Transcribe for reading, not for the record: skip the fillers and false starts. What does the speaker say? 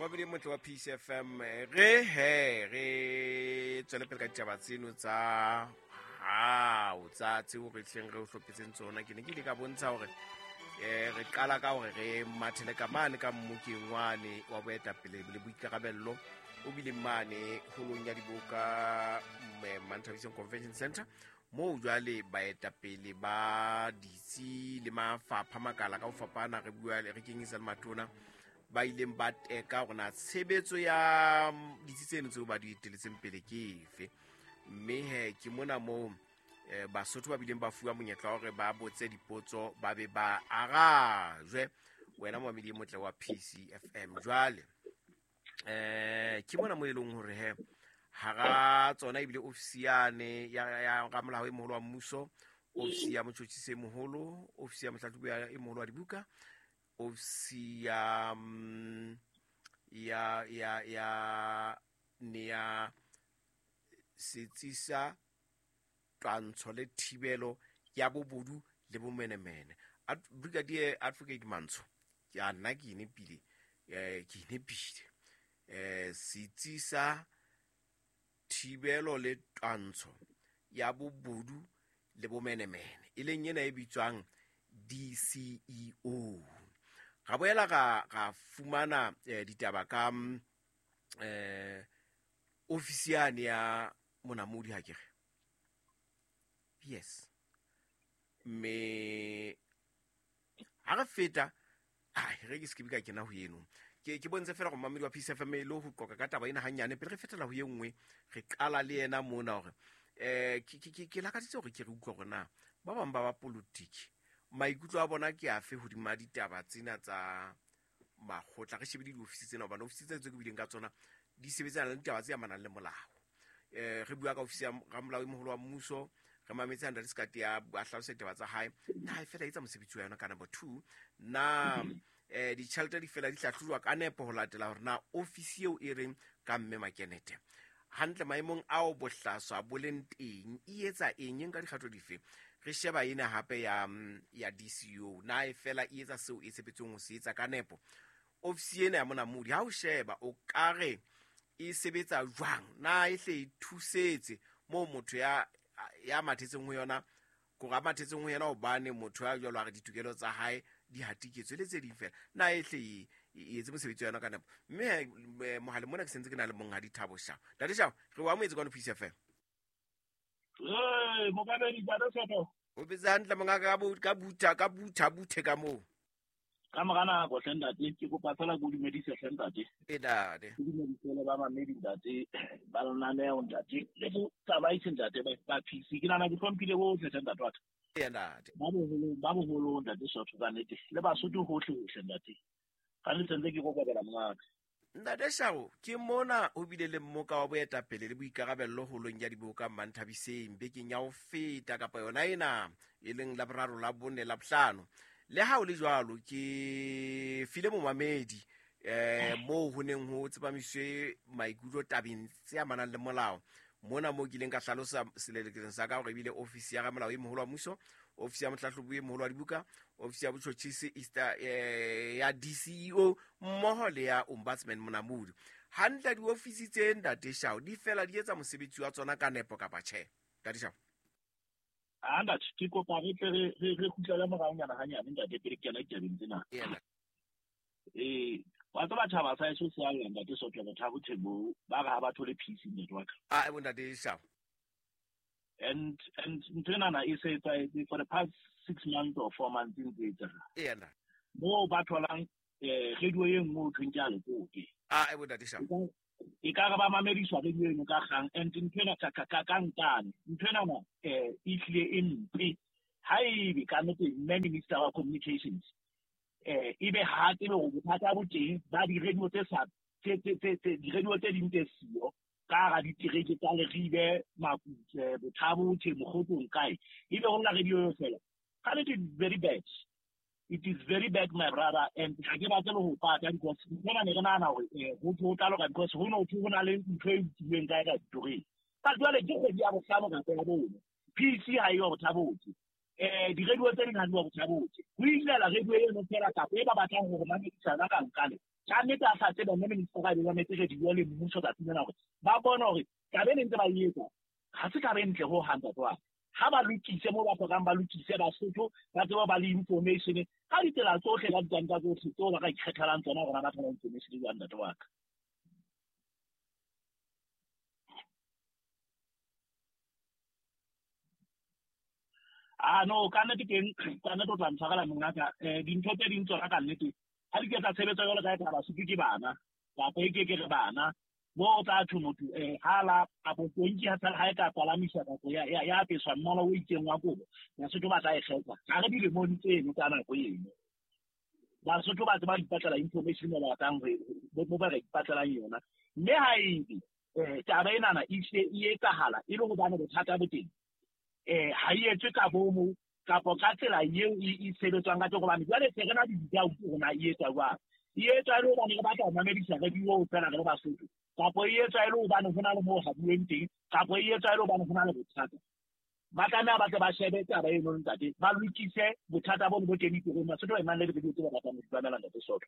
Momamedi e motle wa Peace FM, re he re tswele pele ka ditaba tseno tsa hao tsa tseo re tleng re o hlophetseng tsona. Ke ne ke ile ka bontsha hore re qala ka hore re mathele ka mane ka mmokeng wane wa boetapele le boikarabello o bileng mane holong ya diboka Manthabiseng Convention Center, moo jwale baetapele ba ditsi le mafapha makala ka ho fapana re bua re kenyetsa le matona ba ileng ba teka hore na tshebetso ya ditsi tseno tseo ba di eteletseng pele ke efe. Mme he ke mona moo Basotho ba bileng ba fuwa monyetla wa hore ba botse dipotso ba be ba arajwe. Wena momamedi e motle wa PCFM, jwale ke mona mo e leng hore he hara tsona ebile ofisi yane ya ramolao e moholo wa mmuso, ofisi ya motjhotjhisi e moholo, ofisi ya mohlahlobi e moholo wa dibuka, ofisi ya ya ya ya ne ya setsi sa twantsho le thibelo ya bobodu le bomenemene. Brigadier Advocate Mantsho, ke a nna ke inepile, ke inepile. Setsi sa thibelo le twantsho ya bobodu le bomenemene, e leng ena e bitswang DCEO. Ra boela ra fumana ditaba ka ofisi yane ya monamodi, ha ke re? Yes. Mme ha re feta, ai, re ke se ke ka kena ho eno. Ke bontshe fela gore mamedi wa Peace FM e le ho qoqa ka taba ena hanyane pele re fetela ho ye nngwe. Re qala le yena mona hore ke lakaditse hore ke re utlwa hore na ba bang ba ba politiki maikutlo a bona ke afe hodima ditaba tsena tsa makgotla. Re shebile diofisi tsena hobane ofisi tsena tse ke buileng ka tsona di sebetsana le ditaba tse amanang le molao. Re bua ka ofisi ya ramolao e moholo wa mmuso, re mametse Ntate Sekati a hlalosa ditaba tsa hae, na e fela etsa mosebetsi wa yona ka number 2, na ditjhelete di fela di hlahlojwa ka nepo ho latela hore na ofisi eo e reng ka mme Makenete hantle maemong ao bohlaswa bo leng teng e etsa eng, e nka dikgato dife. Re sheba ena hape ya DCO, na e fela e etsa seo e tshepetsweng ho se etsa ka nepo. Ofisi ena ya monamodi ha o sheba o ka re e sebetsa jwang, na e hle e thusetse moo motho ya mathetseng ho yona, kore a mathetseng ho yena hobane motho ya jwalo a re ditokelo tsa hae di hatiketswe le tse ding fela, na e hle e etse mosebetsi wa yona ka nepo. Mme mohaleng mona ke sentse ke na le monghadi Thabo Shao. Ntate Shao, re o amohetse kwano Peace FM. Ee, mokabedi, ntate Soto. O betse hantle mongaka, ka butha, ka butha, buthe ka moo. Ka mora nako hle ntate, ke kopa fela ke o dumedise hle ntate. E ntate. Ke dumedise le ba mamedi ntate, ba lenaneo ntate, le botsamaisi ntate ba PC. Ke nahana ke hlomphile bohle hle ntate wa ka. E ntate. Ba boholo ntate Sotho ka nnete, le Basotho hohle hohle ntate. Ka nnete ntse ke kokobela mongaka. Ntate Shao, ke mona ho bile le mmoka wa boetapele le boikarabello holong ya diboka Manthabiseng bekeng ya ho feta kapa yona ena e leng la boraro, la bone, la bohlano. Le ha ho le jwalo, ke file momamedi moo ho neng ho tsepamiswe maikutlo tabeng tse amanang le molao. Mona moo ke ileng ka hlalosa selelekeng sa ka hore ebile ofisi ya ramolao e moholo wa mmuso, ofisi ya mohlahlobi e moholo wa dibuka, ofisi ya botjhotjhisi ya DCEO mmoho le ya Ombudsman Monamodi. Hantle diofisi tse Ntate Shao di fela di etsa mosebetsi wa tsona ka nepo kapa tjhe? Ntate Shao. Ah, ntate, ke kopa re tle re kgutlele moraonyana hanyane ntate pele ke kena ditabeng tsena. Yena. Wa tseba tjhaba sa heso se a lla ntate Soto, Thabo Thebo, ba re ha ba thole peace ntate wa ka. Ah, bo ntate Shao. And ntho enana e se etsahetse for the past 6 months or 4 months ntse e etsahala. Yena. Moo ba tholang radio e nngwe ho thweng ke ya Lekope. Ah, bo ntate Shao. E ka re ba mamediswa radio eno ka kgang, and ntho ena ka nkane. Ntho enana, e hlile e mpe. Ha ebe ka nnete mme Minister wa Communications, ebe ha tsebe hore bothata bo teng ba di-radio tse sa, tse, tse, tse, tse, di-radio tse ding tse siyo ka hara ditereke tsa Leribe, Makutle, Bothabo, Tjhe, Mokgotlong, kae. Ebe ho nna radio eo fela. Ka nnete, it's very bad. It is very bad, my brother, and ha ke batle le ho pata because ntho ena ne re nahana hore, ho thwe ho tla loka because ho no thwe ho na le ntho e utlwileng kae ka ditoreng. Ka jwale ke kgwedi ya bohlano kapa ya bone. PC ha eyo Bothabo. Di-radio tse ding ha di wa botjha botse. Ho ilela radio eno fela kapa e ba batlang hore mamedisana ka nkale. Ka nnete a sa tsebe mme minister a be mametse radio le mmuso tsatsing lena hore ba bone hore taba e ne ntse ba e etsa ha se taba e ntle ho hang ntate wa ka. Ha ba lokise moo ba hlokang ba lokise Basotho ba tsebe ba le information ka ditsela tsohle ka ditanka tsohle tseo ba ka ikgethelang tsona hore ba thola information jwang ntate wa ka. Ah no, ka nnete teng, ka nnete o tla ntshwarela mongaka. Dintho tse ding tsona ka nnete ha di ke tsa tshebetso jwalo ka e ka Basotho ke bana kapa e ke ke re bana mo o tla thwe motho ha la kapo tonki ha ha e ka palamiswa kapo ya apeswa mmala o itseng wa kobo, Basotho ba tla e kgetha. Ha re dilemong tseno tsa nako eno. Basotho ba tseba ipatlela information mo ba batlang mo ba ka ipatlelang yona. Mme ha ebe taba enana e se e etsahala e le hobane bothata bo teng, ha e etswe ka bomo kapo ka tsela eo e sebetswang ka teng, hobane jwale se re na le di-doubt hore na e etswa jwang. E etswa e le hobane re batla ho mamedisa radio fela re le Basotho, kapo e etswa e le hobane ho na le moo habuweng teng, kapo e etswa e le hobane ho na le bothata. Ba tlameha ba tle ba shebe taba eno ntate, ba lokise bothata bono bo teng ditorong. Basotho ba emang le di-radio tse ba batlang ho di mamela ntate Soto.